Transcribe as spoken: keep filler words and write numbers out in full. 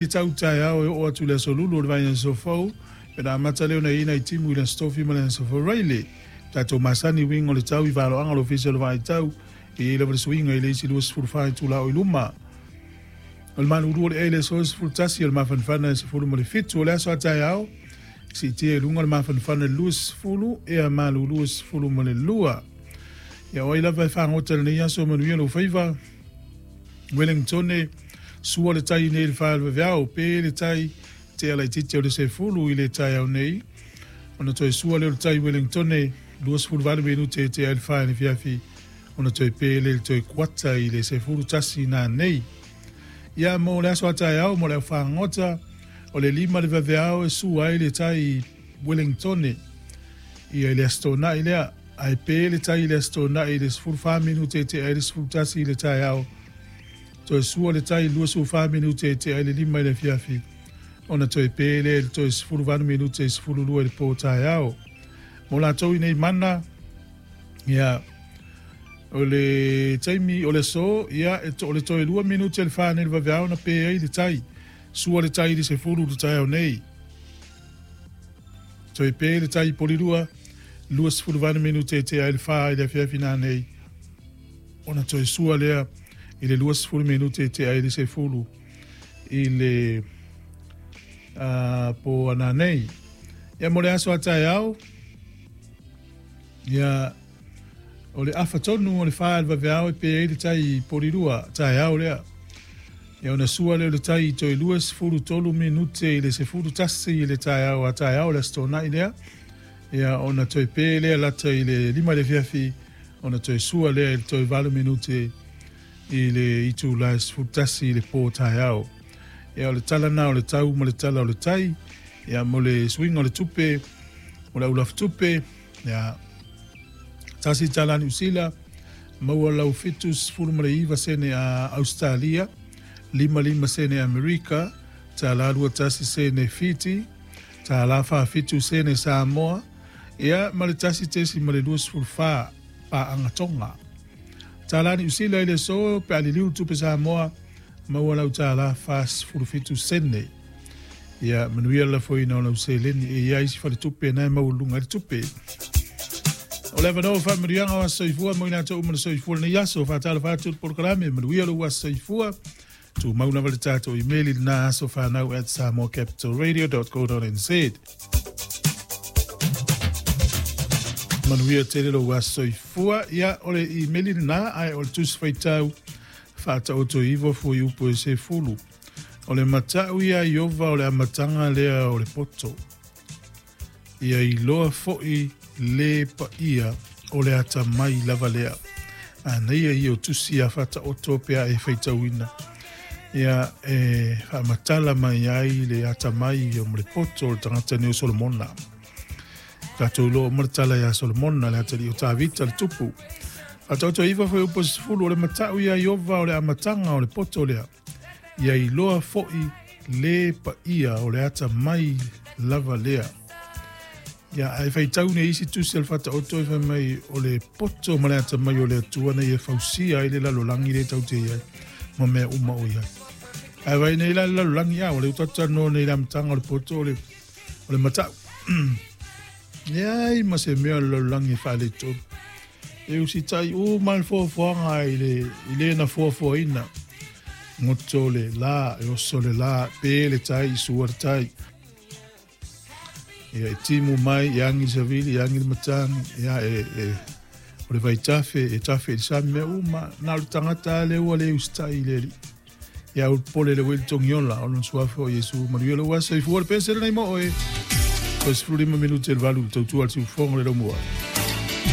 Tau taeao e oo atu i le aso Lulu o le vaiaso fou, pe na amata lea ona i ai nai timu i le Aso Tofi ma le Aso Faraile. Tatou masani uiga o le tau i valoaga o le Ofisa o le Vaitau, e i ai lava le suiga i le isi luasefulu fa itula o i luma. O le malulu o le ea i le aso sefulu tasi, o le mafanafana e sefulu ma le fitu. O le aso a taeao, siitia i luga le mafanafana i le luasefulu, ea malulu e sefulu ma le lua. Ia o ai lava e fagota i lenei aso, manuia lou faiva. Wellingtone, sua le tai nei i le faalevaveao, pe le tai tea laitiiti o le sefulu i le taeao nei. Ona toe sua lea o le tai Wellingtone, luasefulu valu minute e tea ai le fa i le afiafi, ona toe pe lea i le toe kuata i le sefulu tasi nanei. Ia mo le aso a taeao mo le au fagota, o le lima le vaveao e sua ai le tai Wellingtone ia i le Aso Toonai lea, ae pe le tai i le Aso Toonai i le sefulu fa minute e tea ai le sefulu tasi i le taeao. Toe sua le tai luasefulu fa minute e tea ai le lima i le afiafi, ona toe pe lea i le toe sefulu valu minute i sefulu lua i le po taeao. Mo latou i nei mana, ia, o le taimi o le aso, ia, e to, o le toe lua minute le fa nei le vaveao na pe ai le tai. Sua le tai i le sefulu le taeao nei. Toe pe le tai i Polirua, luasefulu valu minute e tea ai le fa i le afiafi nanei. Ona toe sua lea i le luasefulu minute e tea ai le sefulu i le uh, po ananei. Ia mo le aso a taeao, ia o le afa tonu o le fa i le vaveao e pe ai le tai i Polirua, taeao lea. Ia ona sua lea o le tai i toe luasefulu tolu minute i le sefulu tasi i le taeao a taeao le Aso Toonai lea. Ia ona toe pe lea lata i le lima i le afiafi, ona toe sua lea i le toe valu minute i le itula e sefulu tasi i le po taeao. Ia o le tala na o le tau ma le tala o le tai, ia mo le suiga o le tupe, o le aulafu tupe, ia tasi tala Niu Sila, maua lau fitu sefulu ma le iva sene a Australia, lima lima sene Amerika, tala lua tasi sene Fiti, tala fa fitu sene Samoa, ia ma le tasi tesi ma le luasefulu fa paanga Tonga. Tala Niu Sila i le aso pe a liliu tupe Samoa, maua lau tala fa sefulu fitu sene. Ia manuia le lafoina o lau seleni e iai si faletupe na e maualuga ai le tupe. O le avanoa o faamanuiaga o aso soifua mo i latou uma na soifua lenei aso. Faatalofa atu i le polokalame, manuia lou aso soifua. Tumau lava le tatou imeli lena aso fanau at samoa capital radio dot co dot nz. Manuia tele lou aso soifua. Ia o le imeli lena ae o le tusi faitau faataoto iva fuaiupu e sefulu. O le matau ia Iova o le amataga lea o le poto. Ia iloa fo'i le paia o le atamai lava lea. Anaia ia o tusi a faataoto pe a e faitauina. Ia e faamatala mai ai le atamai o le poto o le tagata nei o Solomona. Tatou iloa uma le tala ia Solomona le atalii o Tavita le tupu. Faataoto iva fuaiupu e sefulu o le matau ia Iova o le amataga o le poto lea. Ia iloa fo'i le paia o le atamai lava lea. Ia ae faitau nei isi tusi o le faataoto e fai mai o le poto ma le atamai o le Atua na ia fausia ai le lalolagi le tau te iai ma mea uma o iai. Ae vai nei la le lalolagi a o le utatanoa nei le amataga o le poto o le, o le matau. Leai ma se mea o le lalolagi e faaletolu. E usitai uma le foafoaga i le, i le na foafoaina. Goto le la, e oso le la, pe le tai, sua le tai. Ia e timu mai, e agi le savili, e agi le matagi, ia e, e, o le vaitafe, e tafe i le sami mea uma, na o le tagata a le ua le usitai i le alii. Ia o le pole le ueli togiola, o lona suafa o Iesu, manuia lou aso soifua le pese lenei mo oe. Toe sefulu lima minute le valu, tautua le siufofoga le laumua.